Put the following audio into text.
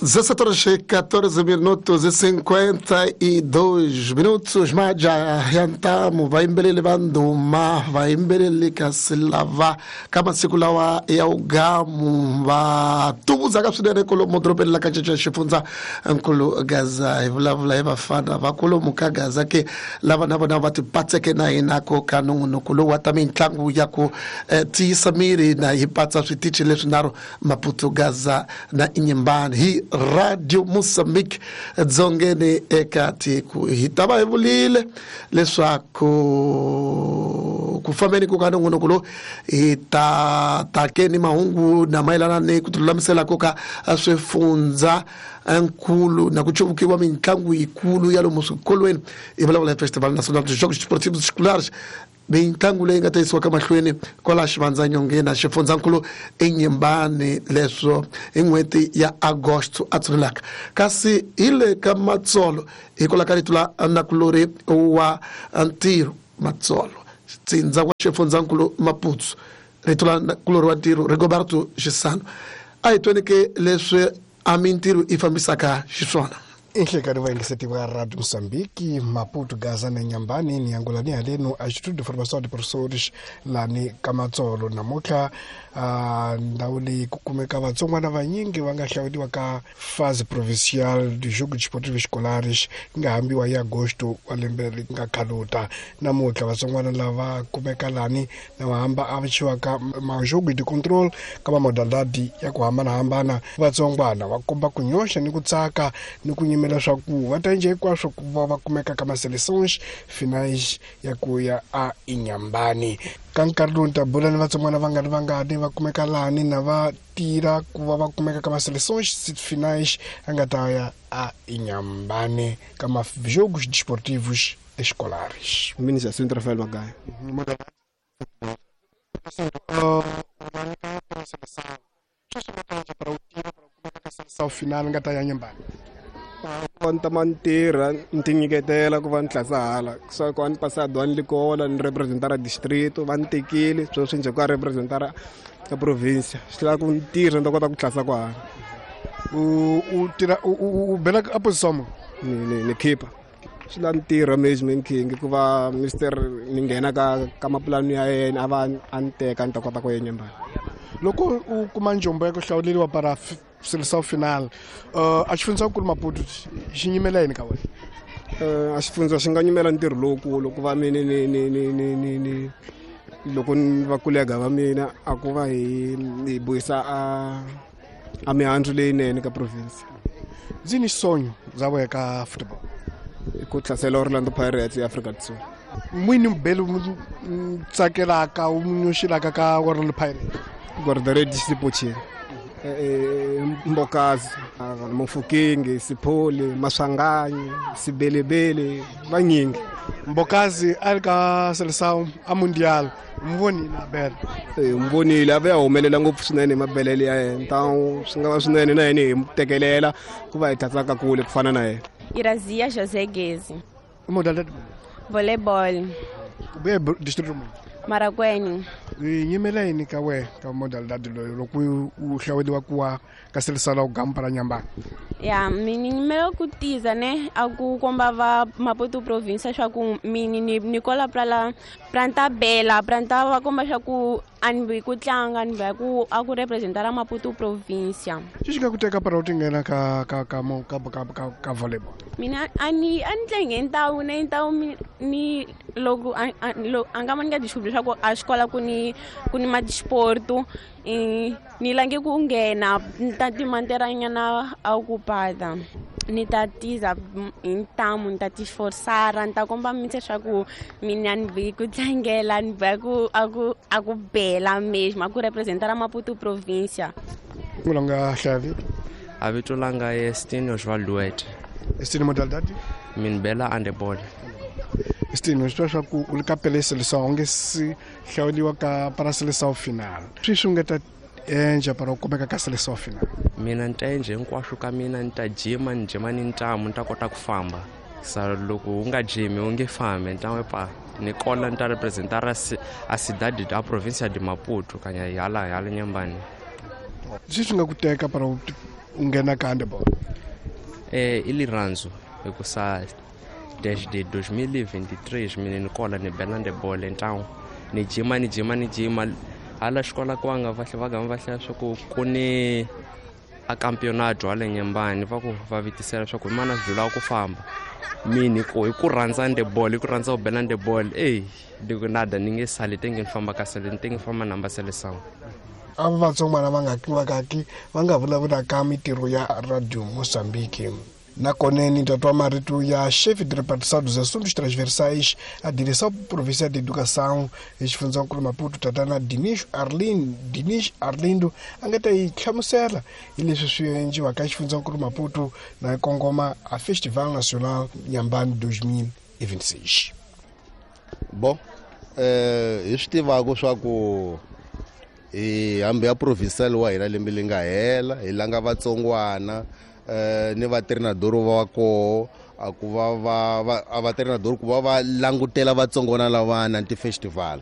17 horas minutos e 52 minutos. Majaha ya ntamu, vayimbeleri va ndhuma, vayimbeleri kasi lava ka masiku lawa ya ugamu va tuvuzaka swinene kolomo dorobeni la ka Caca, xifundza nkulu Gaza. Hi vulavula hi vafana va kolomu ka Gaza ke lava na vona va tipatseke na hina ko ka nongonoko lowu wa ta mitlangu ya ku tiyisa miri, na hi patsa switichi leswinharhu, Maputo, Gaza na Inhambane, hi Radio Mozambique dzongeni eka tiko. Hi ta va hi vulile leswaku ku fambeni ku ka nongonoko lowu hi ta takeni mahungu na mayelana ni ku tilulamisela ko ka swifundza nkulu na ku cuvukiwa mitlangu yikulu ya lomu swikolweni. Hi vulavula hi Festival Nacional de Jogos Desportivos Escolares, mitlangu leyi nga ta yisiwaka mahlweni kwala Xivandzanyongeni na xifundzankulu Inhambane, leswo hi n'hweti ya Agosto a tshunelaka. Kasi hi le ka Matsolo, hikwalaho ka rito la nakulori wa ntirho Matsolo, tsindza wa xifundzankulu Maputo, rito la nakulori wa ntirho Rigoberto Xisano, a hi tweni ke leswi a mintirho yi fambisaka xiswona. Inhlekani vayingiseti va Radio Moçambique, Maputo, Gaza na Inhambane, ni angulani halenu a Instituto de Formação de Professores lani ka Matsolo. Namuntlha ndhawu leyi ku kumeka vatsongwana vanyingi va nga hlawuriwa ka fase provincial de jogo desportivo escolares yi nga hambiwa hi agosto wa lembe ri nga khaluta. Namuntlha vatsongwana lava kumeka lani na va hamba a chiwaka majogo de control ka mamodalidade ya ku hambanahambana. Vatsongwana va komba ku nyoxa ni ku tsaka ni ku nyimela swa ku va ta endla hinkwaswo ku va va kumeka ka maseleções finais ya ku ya a Inhambane. Ka nkarhi lowu ni ta bula ni vatsongwana va nga ri vangani va kumeka lani na va tirha ku va va kumeka ka maseleções finais a nga ta ya a Inhambane ka majogos desportivos escolares. Mina Jacinto Rafael Magaya. Seleção final nga ta ya Inhambane. Ku va ni tama ni tirha, ni ti nyiketela ku va ni tlasa hala swa ku a ni pasado, a ni likola ni representara distrito, va ni tekile sweswi njhe ku a representara ka provincia, swi lava ku ni tirha ni ta kota ku tlasa kwahala. U tirha, u bela a posição mo? Ni keeper. Swi lava ni tirha management king ku va mister ni nghena ka mapulani ya yena, a va a ni teka ni ta kota ku ya Inhambane. Loko u kuma njombo ya ku hlawuleriwa para seleção final, a xifundzankulu Maputo xi nyimela yini ka wena? A xifundza xi nga nyimela ntirho lowukulu ku va mina ni loko ni va kolega va mina a ku va hi vuyisa a mihandzu leyinene ka province. Ndzi ni sonho bya wena ka football? I ku hlasela Orlando Pirates ya Afrika Dzonga. N'wini mubeli u tsakelaka, u nyoxelaka ka Orlando Pirates? Guarda-redes Sipochini, Mbokazi, Mofokeng, Sipholi, Maswanganyi, Sibelebele, vanyingi. Mbokazi a ri ka seleção a mundial, mi vonile a bela? Mi vonile, a va ya humelela ngopfu swinene hi mabelele ya yena. Ntawu swi nga va swinene na yena hi mu tekelela ku va hi tlatsaka kule ku fana na yena. Irazia José Guezi. Modalidade? Voleibol. U vuye distrito muni? Marracuene. Yi nyimela yini ka wena ka modalidade loyi loko u hlawuriwa ku wa ka seleção la u gampa ra Inhambane? Ya, mini nyimela ku tiza ne a ku komba va Maputo province swa ku mini ni kola pra la pra nta bela pra nta va komba swa ku a ni vi ku tlanga ni va ku a ku representara Maputo provincia. Xi nga ku teka para u ti nghena ka ka ka mo ka ka ka, ka volleyball? Mina a ni tlange ntawu ne ntawu ni loko a nga mani ka descobrir swa ku a xikola ku ni madisporto, ni lange ku nghena ni ta timanteranyana a ocupada, ni ta tiza hi ntamu, ni ta ti esforçar, ni ta komba mise swa ku mina ni vi ku tlangela, ni va ku a ku bela mesmo a ku representara Maputo provincia. N'wina nga hlaya vito? A vito langa é Stino João Duete. Estini, modalidade? Min bela handebol. Estini, swi tiva swa ku u le ka pele seleção u nge si hlawuriwa ka para seleção final, swi nga ta endla para u kumeka ka seleção final? Mina ni ta endla hinkwaswo ka mina, ni ta jima, ni jima ni ntamu, ni ta kota ku famba. Sa loko u nga jimi u nge fambi. Ni ta pa ni kola ni ta representar a cidade, a província de Maputo, kanya hala Inhambane. Swi nga ku teka para u nghena ka handeball? I lirhandzu hikusa desde 2023 mina ni kola ni bela ndebole ntawu ni jima ni jima ni jima hala xikola kwanga vahle va gama va hlaya swa ku ku ni a campeonato hala Nyambani va ku va vitisela swa ku mana dlula ku famba mini ku hi ku rhandza ndebole hi ku rhandza ku bela ndebole eyi ni ku nada ni nge sali tenge ni famba ka sele ni tenge famba namba sele sangu. Ava vatsongwana va nga vakaki va nga vulavulaka mitirho ya Radio Moçambique. Nakona ni tatwa marito ya chefe de repartição dos assuntos transversais à Direção Provincial de Educação exifundzhankulu Maputo, tatana Dinis Arlindo, a nga ta yi hlamusela hi leswi swi endliwaka exifundzhankulu Maputo na kongoma a Festival Nacional Nyambani 2026. Bo hi swi tivaka swa ku hi hambi ya provincial wa hina lembe leri nga hela hi langa vatsongwana ni vatreinador va koho a ku va va va a vatreinador ku va va langutela vatsongwana lavana ti-festival.